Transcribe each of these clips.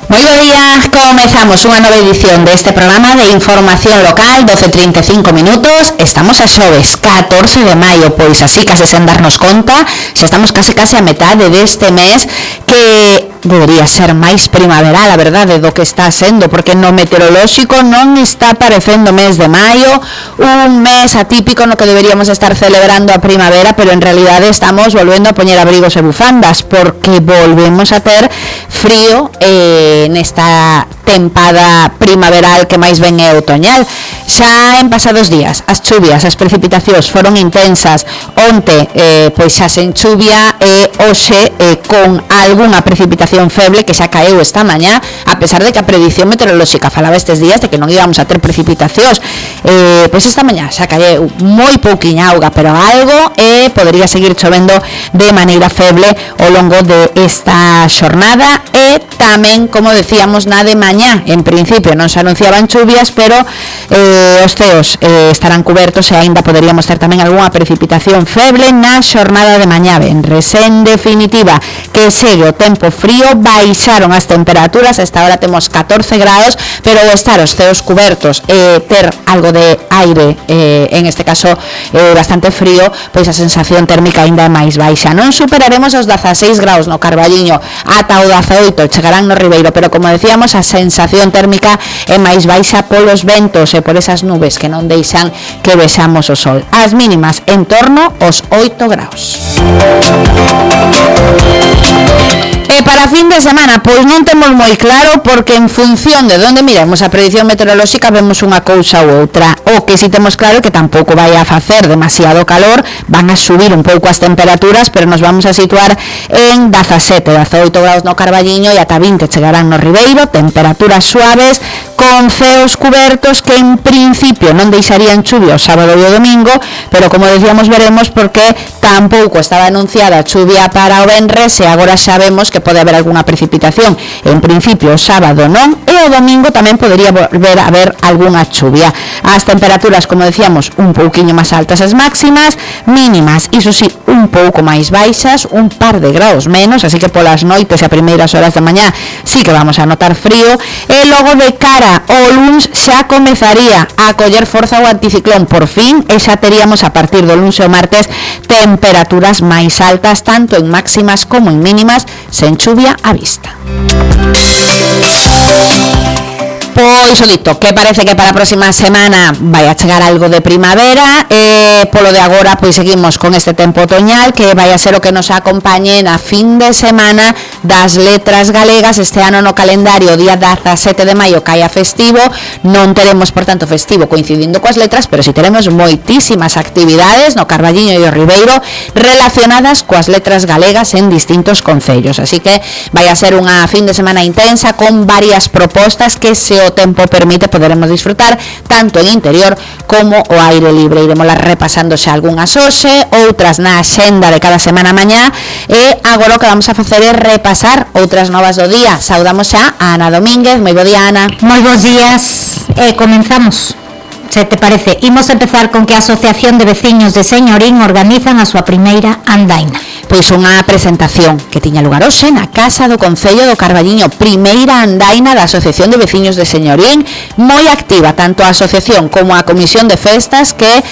Moi bo día, comezamos unha nova edición deste programa de información local, 12:35 minutos. Estamos a xoves 14 de maio, pois así case sen darnos conta, xa estamos case a metade deste mes que debería ser máis primaveral, a verdade, do que está sendo, porque no meteorolóxico non está parecendo mes de maio, un mes atípico no que deberíamos estar celebrando a primavera, pero en realidade estamos volvendo a poñer abrigos e bufandas, porque volvemos a ter frío nesta tempada primaveral que máis ben é outoñal. Xa en pasados días as chuvias, as precipitacións foron intensas. Onte pois xa sen chuvia e hoxe con algunha precipitación feble que xa caeu esta mañá, a pesar de que a predición meteorolóxica falaba estes días de que non íbamos a ter precipitacións. Pois esta mañá xa caeu moi pouquiña auga, pero algo podería seguir chovendo de maneira feble ao longo de esta xornada e tamén, como decíamos, na de mañá, en principio non se anunciaban chuvias, pero os ceos estarán cubertos e aínda poderíamos ter tamén algunha precipitación feble na xornada de mañá venres. En definitiva, que segue o tempo frío, baixaron as temperaturas, esta hora temos 14 grados, pero ao estar os ceos cubertos e ter algo de aire, en este caso bastante frío, pois a sensación térmica aínda é máis baixa. Non superaremos os 16 graus no Carballiño, ata o 18 chegarán no Ribeiro, pero como decíamos, a sensación térmica é máis baixa polos ventos e por esas nubes que non deixan que vexamos o sol. As mínimas en torno aos 8 graus. E para fin de semana, pois non temos moi claro, porque en función de onde miremos a predición meteorolóxica vemos unha cousa ou outra. O que si temos claro é que tampouco vai a facer demasiado calor, van a subir un pouco as temperaturas, pero nos vamos a situar en 17, 18 graus no Carballiño e ata 20 chegarán no Ribeiro, temperaturas suaves, con ceos cubertos que en principio non deixarían chuvia o sábado e o domingo, pero como decíamos veremos porque tampouco estaba anunciada chuvia para o venres e agora xa vemos que pode haber algunha precipitación. En principio o sábado non e o domingo tamén podería volver a haber algunha chuvia. As temperaturas, como decíamos, un pouquiño máis altas as máximas, mínimas, iso sí, un pouco máis baixas, un par de graus menos, así que polas noites e a primeiras horas da mañá sí que vamos a notar frío e logo de cara o luns xa comezaría a coller forza o anticiclón por fin e xa teríamos a partir do luns e o martes temperaturas máis altas tanto en máximas como en mínimas sen chuvia á vista. Pois o dito, que parece que para a próxima semana vai a chegar algo de primavera e polo de agora pois seguimos con este tempo otoñal que vai a ser o que nos acompañe na fin de semana das letras galegas. Este ano no calendario o día 17 de maio cae a festivo, non teremos por tanto festivo coincidindo coas letras, pero si teremos moitísimas actividades no Carballiño e o Ribeiro relacionadas coas letras galegas en distintos concellos, así que vai a ser unha fin de semana intensa con varias propostas que se o tempo permite poderemos disfrutar tanto en interior como o aire libre. Iremos repasando xa algunhas hoxe, outras na axenda de cada semana mañá e agora o que vamos a facer é repasar outras novas do día. Saudamos xa a Ana Domínguez. Moi bo día, Ana. Moi bons días. Comenzamos. Se te parece, imos empezar con que a Asociación de Veciños de Señorín organizan a súa primeira andaina. Pois unha presentación que tiña lugar hoxe na Casa do Concello do Carballiño, primeira andaina da Asociación de Veciños de Señorín, moi activa tanto a asociación como a Comisión de Festas que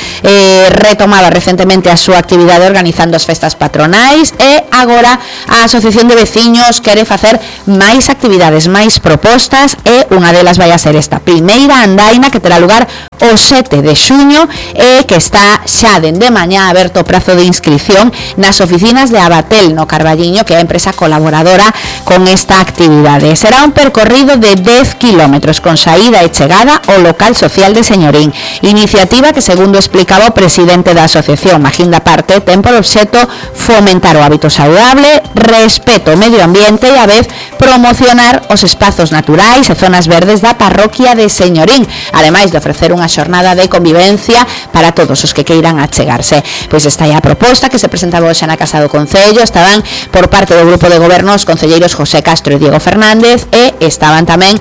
retomaba recentemente a súa actividade organizando as festas patronais e agora a Asociación de Veciños quere facer máis actividades, máis propostas e unha delas vai a ser esta primeira andaina que terá lugar o 7 de xuño e que está xa dende mañá aberto o prazo de inscripción nas oficinas de Abatel no Carballiño, que é a empresa colaboradora con esta actividade. Será un percorrido de 10 kilómetros con saída e chegada ao local social de Señorín, iniciativa que, segundo explicaba o presidente da asociación, Magín da Parte, ten por obxecto fomentar o hábito saudable, respeto ao medio ambiente e a vez promocionar os espazos naturais e zonas verdes da parroquia de Señorín, ademais de ofrecer unha xornada de convivencia para todos os que queiran achegarse. Pois esta é a proposta que se presentaba hoxe na Casa do Concello. Estaban por parte do grupo de goberno os concelleiros José Castro e Diego Fernández e estaban tamén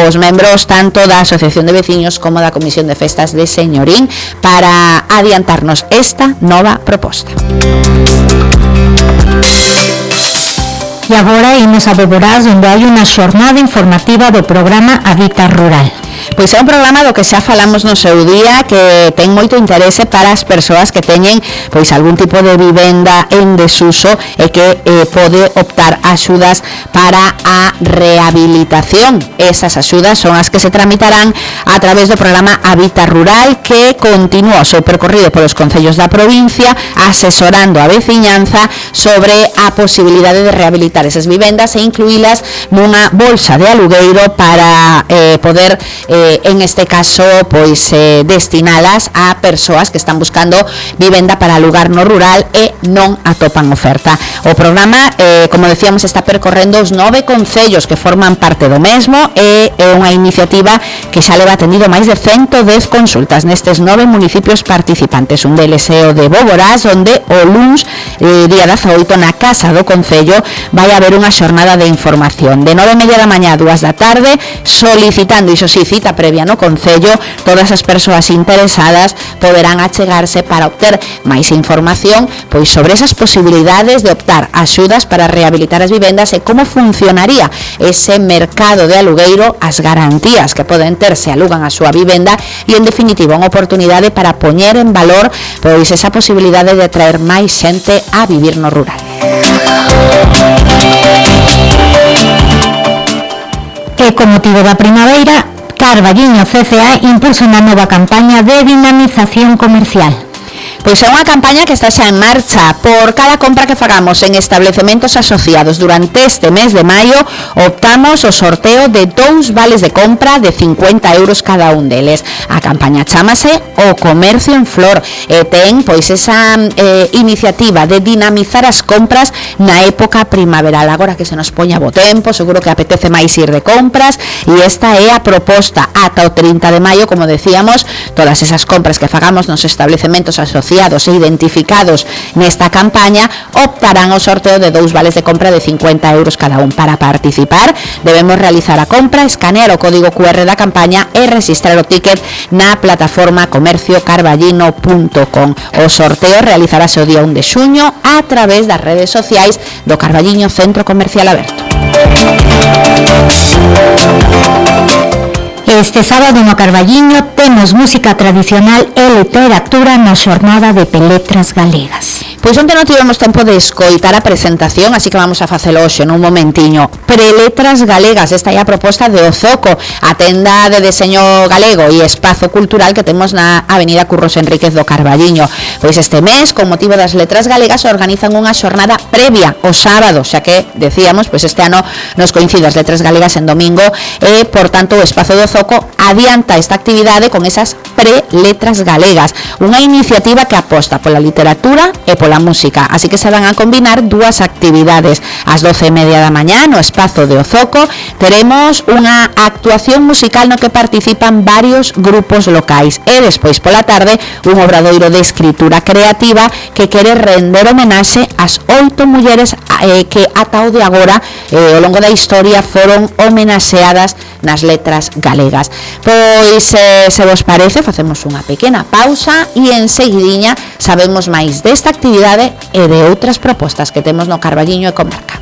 os membros tanto da Asociación de Veciños como da Comisión de Festas de Señorín para adiantarnos esta nova proposta. E agora imos a Boborás, onde hai unha xornada informativa do programa Hábitat Rural. Pois é un programa do que xa falamos no seu día, que ten moito interese para as persoas que teñen pois algún tipo de vivenda en desuso e que pode optar a axudas para a rehabilitación. Esas axudas son as que se tramitarán a través do programa Hábitat Rural, que continúa o seu percorrido polos concellos da provincia, asesorando a veciñanza sobre a posibilidade de rehabilitar esas vivendas e incluílas nunha bolsa de alugueiro para poder en este caso pois destinalas a persoas que están buscando vivenda para alugar no rural e non atopan oferta. O programa, como decíamos, está percorrendo os 9 concellos que forman parte do mesmo e é unha iniciativa que xa leva atendido máis de 110 consultas nestes 9 municipios participantes. Un deles é o de Boborás, onde o luns, día 18, na Casa do Concello vai haber unha xornada de información de 9:30 da mañá a 2 da tarde, solicitando, iso sí, cita previa no Concello. Todas as persoas interesadas poderán achegarse para obter máis información pois sobre esas posibilidades de optar a axudas para rehabilitar as vivendas e como funcionaría ese mercado de alugueiro, as garantías que poden ter se alugan a súa vivenda e, en definitiva, unha oportunidade para poñer en valor pois esa posibilidade de atraer máis xente a vivir no rural. E con motivo da primavera, Carballiño CCA impulsa unha nova campaña de dinamización comercial. Pois é unha campaña que está xa en marcha. Por cada compra que fagamos en establecementos asociados durante este mes de maio, optamos o sorteo de 2 vales de compra de 50 euros cada un deles. A campaña chámase O Comercio en Flor e ten pois esa iniciativa de dinamizar as compras na época primaveral. Agora que se nos poña bo tempo, seguro que apetece máis ir de compras e esta é a proposta. Ata o 30 de maio, como decíamos, todas esas compras que fagamos nos establecementos asociados e identificados nesta campaña optarán ao sorteo de 2 vales de compra de 50 euros cada un. Para participar debemos realizar a compra, escanear o código QR da campaña e registrar o ticket na plataforma comerciocarballino.com. O sorteo realizarase o día 1 de xuño a través das redes sociais do Carballiño Centro Comercial Aberto. Este sábado no Carballiño temos música tradicional e literatura na xornada de Peletras Galegas. Pois onte non tivemos tempo de escoitar a presentación, así que vamos a facelo hoxe nun momentiño. Peletras Galegas, esta é a proposta de Ozoco, a tenda de deseño galego e espazo cultural que temos na Avenida Curros Enríquez do Carballiño. Pois este mes, con motivo das letras galegas, organizan unha xornada previa o sábado, xa que, decíamos, pois este ano nos coincide as letras galegas en domingo e, por tanto, o espazo de Ozoco adianta esta actividade con esas preletras galegas, unha iniciativa que aposta pola literatura e pola música, así que se van a combinar dúas actividades. Ás 12:30 da mañá no espazo de Ozoco teremos unha actuación musical no que participan varios grupos locais e despois pola tarde un obradoiro de escritura creativa que quere render homenaxe ás 8 mulleres que ata o de agora ao longo da historia foron homenaxeadas nas letras galegas. Pois se vos parece, facemos unha pequena pausa e enseguidiña sabemos máis desta actividade e de outras propostas que temos no Carballiño e comarca.